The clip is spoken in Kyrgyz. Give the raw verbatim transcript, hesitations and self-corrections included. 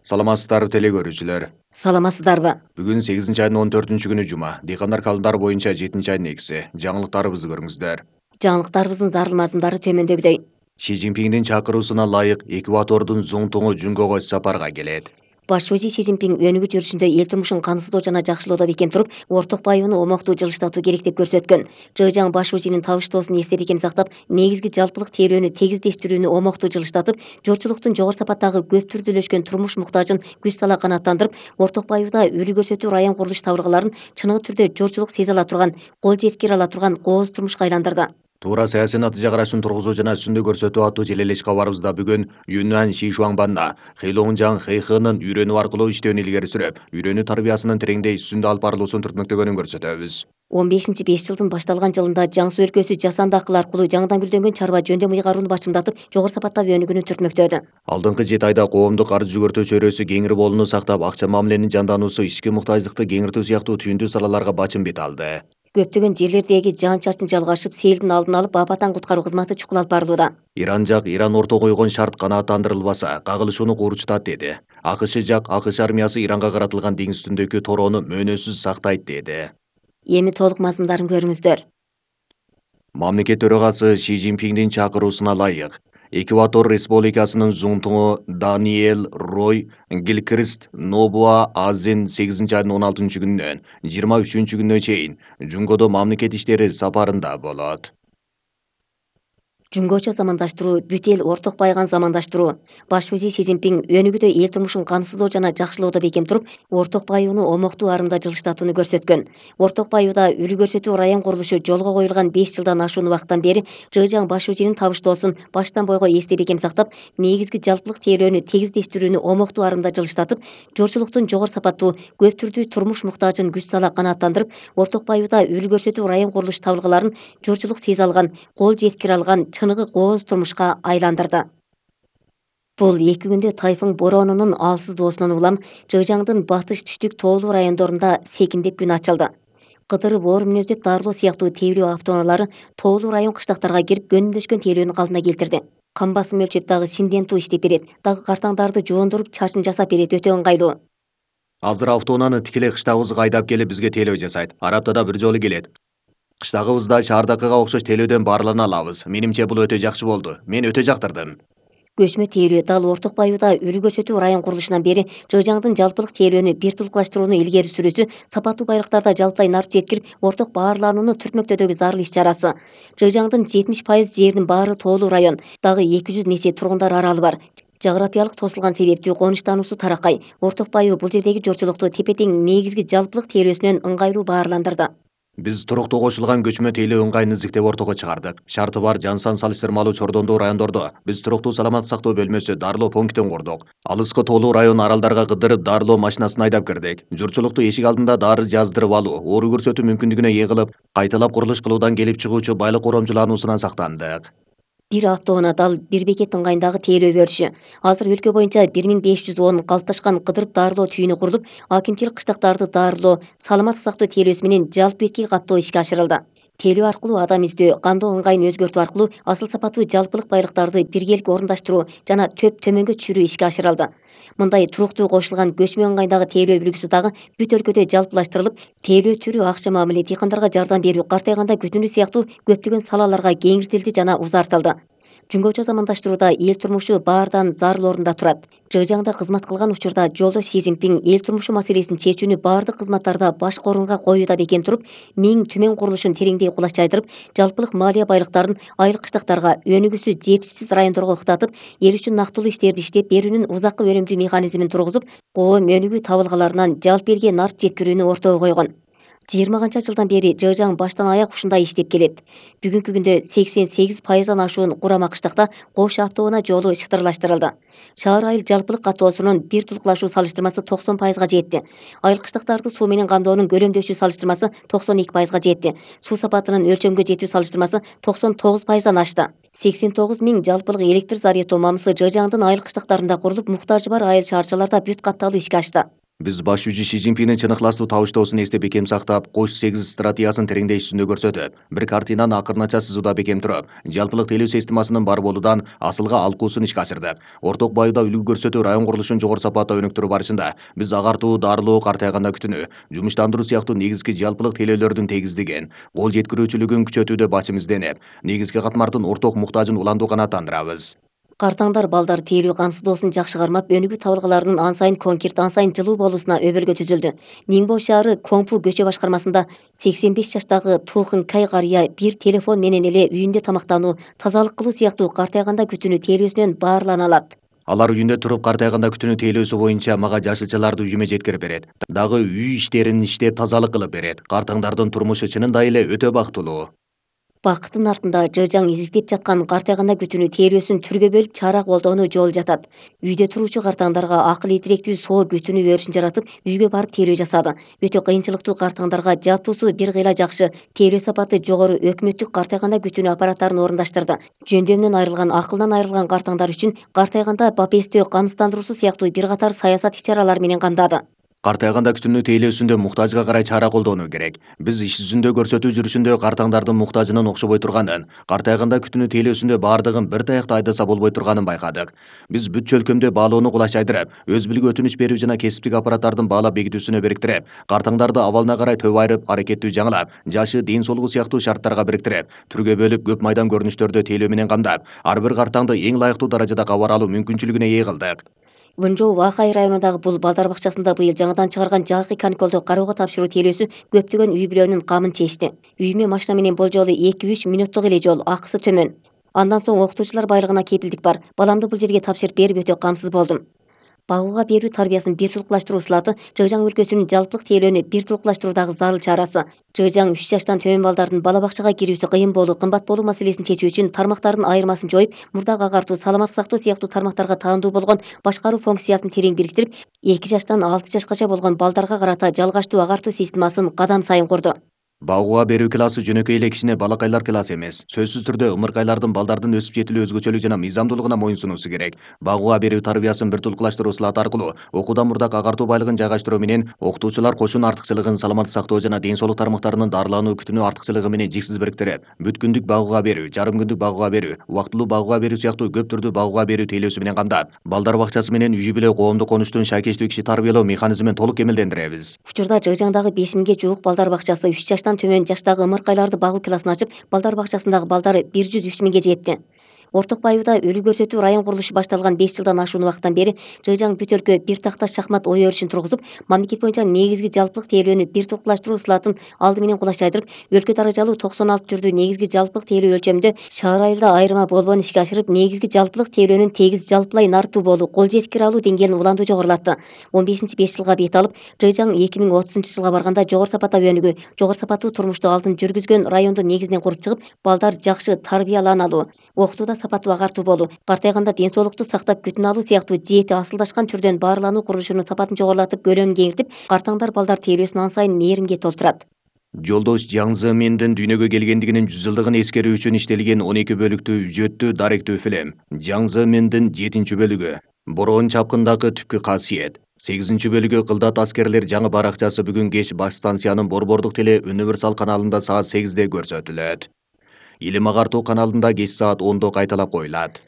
Саламатсыздарбы теле көрүүчүлөр. Саламатсыздарбы? Бүгүн сегизинчи айдын он төртүнчү күнү жума. Дыйкандар календары боюнча жетинчи айдын экиси. Жаңылыктарыбызды көрүңүздөр. Жаңылыктарыбыздын зарыл мазмундары төмөндөгүдөй. Ши Цзиньпиндин чакыруусуна ылайык Эквадордун Зуңтуңу Жунгого сапарга келет. Баш вазир Ши Цзиньпин өнүгүү жүрүшүндө эл турмушун камсыздоо жана жакшылоодо бекем туруп, орток байыбын омоктуу жылыштатуу керек деп көрсөткөн. Жыжаң баш вазиринин табыштоосун эстеп бекем сактап, негизги жалпылык тейлөөнү тегиздештирүүнү омоктуу жылыштатып, журтчулуктун жогору сапаттагы көп түрдүүлөшкөн турмуш муктажын күч сала канааттандырып, орток байыбда үлгү көрсөтүү район курулуш табыргаларын чыныгы түрдө журтчулук сезе ала турган, кол жеткире ала турган кооз турмушка айландырды. Туура саясий натыйжа карашын тургузуу жана үстүндө көрсөтүү аттуу желелеш кабарыбызда бүгүн Юньнан Шишуаңбанда Хэйлоңжаң Хэйхынын үйрөнүү аркылуу иштөөнү илгери сүрөп, үйрөнүү тарбиясынын тереңдей үстүндө алып барылуусун түртмөктөгөнүн көрсөтөбүз. он бешинчи беш жылдын башталган жылында Жаңсу өлкөсү жасанды акыл аркылуу жаңыдан гүлдөнгөн чарба жөндөм ыйгарууну бачымдатып, жогору сапаттагы өнүгүүнү түртмөктөдү. Алдыңкы жети айда коомдук карыз жүгөртүү чөйрөсү кеңири болууну сактап, акча мамиленин жандануусу, ички муктаждыкты кеңиртүү сыяктуу түйүндүү салаларга бачым бет алды. Көптөгөн жерлердеги жаан-чачын жалгашып, селдин алдын алып, апаттан куткаруу кызматы чукул алып барылууда. Иран жак Иран орто койгон шарт канааттандырылбаса, кагылышууну курчутат деди. АКШ жак АКШ армиясы Иранга каратылган деңиз үстүндөгү torоону мөөнөсүз сактайт деди. Эми толук мазмундарын көрүңүздөр. Мамлекет төрагасы Ши Цзиньпиндин чакыруусуна ылайык Эквадор Республикасынын Зуңтуңу Даниэль Рой Гилкрист Нобуа Азин сегизинчи айдын он алтынчы күнүнөн жыйырма үчүнчү күнүнө чейин Жунгодо мамлекет иштери сапарында болот. Жунгочо замандаштыруу, бүт эл орток байыган замандаштыруу. Баш вазир Ши Цзиньпин өнүгүүдө эл турмушун камсыздоо жана жакшылоодо бекем туруп, орток байыбын омоктуу арымда жылыштатууну көрсөткөн. Орток байыбда үлгү көрсөтүү район курулушу жолго коюлган беш жылдан ашуун убакыттан бери Жыжаң баш вазиринин табыштоосун баштан бойго эстеп бекем сактап, негизги жалпылык тейлөөнү тегиздештирүүнү омоктуу арымда жылыштатып, журтчулуктун жогору сапаттуу, көп түрдүү турмуш муктажын күч сала канааттандырып, орток байыбда үлгү көрсөтүү район курулуш табыргаларын журтчулук сезе алган, кол жеткире алган чыныгы кооз турмушка айландырды. Бул эки күндө тайфун боронунун алсыз доосунан улам Жыжаңдын батыш түштүк тоолуу райондорунда секиндеп күн ачылды. Кыдырып, оор мүнөздөп дарылоо сыяктуу тейлөө автоунаалары тоолуу район кыштактарга кирип көнүмдөшкөн тейлөөнү калдына келтирди. Кан басым өлчөп дагы Синденту иштеп берет, дагы картаңдарды жуундуруп, чачын жасап берет, өтө ыңгайлуу. Азыр автоунааны тикелей кыштагыбызга айдап келип бизге тейлөө жасайт. Ар аптада бир жолу келет. Кыштагыбызда шаардакыга окшош тейлөөдөн баарлана алабыз. Менимче бул өтө жакшы болду. Мен өтө жактырдым. Көчмө тейлөө дал орток байыбда үлгү көрсөтүү район курулушунан бери Жыжаңдын жалпылык тейлөөнү бир тулукташтырууну илгери сүрүүсү, сапаттуу байлыктарда жалпылай нарып жеткирип, орток баарланууну түртмөктөөдөгү зарыл иш-чарасы. Жыжаңдын жетимиш пайыз жеринин баары тоолуу район, дагы эки жүз нече тургундар аралы бар. Жаграпиялык тосулган себептүү конуштануусу таракай. Орток байыбы бул жердеги журтчулукту тепе-тең негизги жалпылык тейлөөсүнөн ыңгайлуу баарландырды. Биз туруктуу кошулган көчмө тейлөө ыңгайын изиктеп ортого чыгардык. Шарты бар жан сан салыштырмалуу чордондуу райондордо биз туруктуу саламат сактоо бөлмөсү дарылоо пунктин курдук. Алыскы тоолуу район аралдарга кыдырып дарылоо машинасын айдап кирдик. Журтчулукту эшик алдында дары жаздырып алуу, оору көрсөтүү мүмкүндүгүнө ээ кылып, кайталап курулуш кылуудан келип чыгуучу байлык коромчулануусунан сактандык. Бир автоунаа дал бир бекет ыңгайындагы тейлөө бериши. Азыр өлкө боюнча бир миң беш жүз он калыпташкан кыдырып дарылоо түйүнү курулуп, акимчилик кыштактарды дарылоо, саламаттык сактоо тейлөөсү менен жалпы бетки каттоо ишке ашырылды. Тейлөө аркылуу адам издөө, кандоо ыңгайын өзгөртүү аркылуу асыл сапаттуу жалпылык байлыктарды биргелик орундаштыруу жана төп төмөнгө түшүрүү ишке ашырылды. Мындай туруктуу кошулган көчмө ыңгайындагы тейлөө үлгүсү дагы бүт өлкөдө жалпылаштырылып, тейлөө түрү, акча мамиле, дыйкандарга жардам берүү, картайганда күтүнүү сыяктуу көптөгөн салаларга кеңиртилди жана узартылды. Жунгочо замандаштырууда эл турмушу баардан зарыл орунда турат. Жыжаңда кызмат кылган учурда жолдош Ши Цзиньпин эл турмушу маселесин чечүүнү баардык кызматтарда башкы орунга коюуда бекем туруп, миң түмөн курулушун тереңдей кулач жайдырып, жалпылык малия байлыктарын айыл кыштактарга, өнүгүүсү жетишсиз райондорго ыктатып, эл үчүн нактылуу иштерди иштеп берүүнүн узакка өнүмдүү механизмин тургузуп, коом өнүгүү табылгаларынан жалпы элге нарып жеткирүүнү ортого койгон. жыйырма канча жылдан бери Жыжаң баштан аяк ушундай иштеп келет. Бүгүнкү күндө сексен сегиз пайыздан ашуун курама кыштакта кош автоунаа жолу шыктырлаштырылды. Шаар айыл жалпылык каттоосунун бир тулукташуу салыштырмасы токсон пайызга жетти. Айыл кыштактарды суу менен камдоонун көлөмдөшүү салыштырмасы токсон эки пайызга жетти. Суу сапатынын өлчөмгө жетүү салыштырмасы токсон тогуз пайыздан ашты. сексен тогуз миң жалпылык электр зарядтоо мамысы Жыжаңдын айыл кыштактарында курулуп, муктажы бар айыл шаарчаларда бүт катталуу ишке ашты. Биз баш жүзү Ши Цзиньпиндин чын ыхластуу табыштоосун эстеп бекем сактап, кош сегиз стратегиясын тереңдешүүсүндө көрсөтүп, бир картинаны акырынача сызууда бекем туруп, жалпылык тейлөө системасынын бар болуудан асылга алкуусун ишке ашырдык. Орток баюуда үлгү көрсөтүү район курулушун жогору сапатта өнүктүрүү барышында биз агартуу, дарылоо, картайганда күтүнүү, жумуштандыруу сыяктуу негизги жалпылык тейлөөлөрдүн тегиздигин, кол жеткирүүчүлүгүн күчөтүүдө башым изденип, негизги катмардын орток муктажын уландуу канааттандырабыз. Картаңдар балдар тейлөө камсыздоосун жакшы кармап, өнүгүү табылгаларынын ан сайын конкрет, ан сайын жылуу болуусуна өбөлгө түзүлдү. Нingbo шаары Коңпу көчө башкармасында сексен беш жаштагы Тухын Кай карыя бир телефон менен эле үйүндө тамактануу, тазалык кылуу сыяктуу картайганда күтүнүү тейлөөсүнөн баарлана алат. Алар үйүндө туруп картайганда күтүнүү тейлөөсү боюнча мага жашылчаларды үйүмө жеткирип берет. Дагы үй иштерин иштеп тазалык кылып берет. Картаңдардын турмушу чынында эле өтө бактылуу. Бакыттын артында жыжаң изиктеп жаткан картайганда күтүнүү тейлөөсүн түргө бөлүп чара колдоону жол жатат. Үйдө туруучу картаңдарга акыл ийдиректүү соо күтүнүү өрүшүн жаратып, үйгө барып тейлөө жасады. Өтө кыйынчылыктуу картаңдарга жаптуусу бир кыйла жакшы, тейлөө сапаты жогору өкмөттүк картайганда күтүнүү аппараттарын орундаштырды. Жөндөмдөн айрылган, акылдан айрылган картаңдар үчүн картайганда бапестөө, камсыздандыруусу сыяктуу бир катар саясат иш-чаралар менен камдады. Картайганда күтүнүү тейлөөсүндө муктажга карай чара колдонуу керек. Биз иш жүзүндө көрсөтүү жүрүшүндө картаңдардын муктажынын окшобой турганын, картайганда күтүнүү тейлөөсүндө баардыгын бир таякта айдаса болбой турганын байкадык. Биз бүт чөлкөмдө баалоону кулачайдырып, өз билиги өтүнүч берүү жана кесиптик аппараттардын баалап бекитүүсүнө бириктирип, картаңдарды абалына карай төп айырып, аракеттүү жаңылап, жашы, ден соолугу сыяктуу шарттарга бириктирип, түргө бөлүп, көп майдан көрүнүштөрдө тейлөө менен камдап, ар бир картаңды эң ылайыктуу даражада кабар алуу мүмкүнчүлүгүнө ээ кылдык. Вэнжоу Вахай районундагы бул балдар бакчасында быйыл жаңыдан чыгарган жакый каникулду кароого тапшыруу тейлөөсү көптөгөн үй бүлөнүн камын чечти. Үйүмө машина менен болжолу эки үч мүнөттүк эле жол, акысы төмөн. Андан соң окутуучулар байлыгына кепилдик бар. Баламды бул жерге тапшырып берип өтө камсыз болдум. Багууга берүү тарбиясын бир тулукташтыруу ысылаты Жыжаң өлкөсүнүн жалпылык тейлөөнү бир тулукташтыруудагы зарыл чарасы. Жыжаң үч жаштан төмөн балдардын бала бакчага кирүүсү кыйын болуу, кымбат болуу маселесин чечүү үчүн тармактардын айырмасын жоюп, мурдак агартуу, саламаттык сактоо сыяктуу тармактарга таандуу болгон башкаруу функциясын терең бириктирип, эки жаштан алты жашкача болгон балдарга карата жалгачтуу агартуу системасын кадам сайын курду. Багууга берүү классы жөнөкөй эле кичине балакайлар классы эмес. Сөзсүз түрдө ымыркайлардын балдардын өсүп жетилүү өзгөчөлүк жана мыйзамдуулугуна моюнсунуусу керек. Багууга берүү тарбиясын бир тулукташтыруу ысылаты аркылуу окуудан мурдак агартуу байлыгын жайгаштыруу менен окутуучулар кошун артыкчылыгын саламаттык сактоо жана ден соолук тармактарынын дарылануу күтүнүү артыкчылыгы менен жиксиз бириктирип, бүт күндүк багууга берүү, жарым күндүк багууга берүү, убактылуу багууга берүү сыяктуу көп түрдүү багууга берүү тейлөөсү менен камдап, балдар бакчасы менен үй бүлө коомдук конуштун шайкештүү киши тарбиялоо механизмин толук кемелдендиребиз. Учурда Жыжаңдагы беш миңге жуук балдар бакчасы үч жаштан төмөн жаштагы ымыркайларды багуу классын ачып, балдар бакчасындагы балдары бир жүз үч миңге жетти. Орток баюуда өлү көрсөтүү район курулушу башталган беш жылдан ашуун убакыттан бери Жыжаң бүт өлкө бир такта шахмат ой өрүшүн тургузуп, мамлекет боюнча негизги жалпылык тейлөөнү бир тулукташтыруу ысылатын алды менен кулачайдырып, өлкө даражалуу токсон алты түрдүү негизги жалпылык тейлөө өлчөмүндө шаар айылда айырма болбоон ишке ашырып, негизги жалпылык тейлөөнүн тегиз жалпылай нартуу болуу, кол жеткире алуу деңгээлин улантуу жогорулатты. он бешинчи беш жылга бет алып, Жыжаң эки миң отузунчу жылга барганда жогору сапатта өнүгүү, жогору сапаттуу турмушту алдын жүргүзгөн районду негизинен куруп чыгып, балдар жакшы тарбияланалуу, окутууда сапаттуу агартуу болуу, картайганда ден соолукту сактап күтүнө алуу сыяктуу жети асылдашкан түрдөн баарлануу курулушунун сапатын жогорулатып, көлөмүн кеңиртип, картаңдар балдар тейлөөсүн ан сайын мээримге толтурат. Жолдош Жаң Зыминдин дүйнөгө келгендигинин жүз жылдыгын эскерүү үчүн иштелген он эки бөлүктүү үжөттүү даректүү фильм. Жаң Зыминдин жетинчи бөлүгү. Бороон чапкындагы түпкү касиет. сегизинчи бөлүгү Кылдат аскерлер жаңы баракчасы бүгүн кеч баш станциянын Борбордук теле Универсал каналында саат сегизде көрсөтүлөт. Илим агартуу каналында кеч саат ондо кайталап коюлат.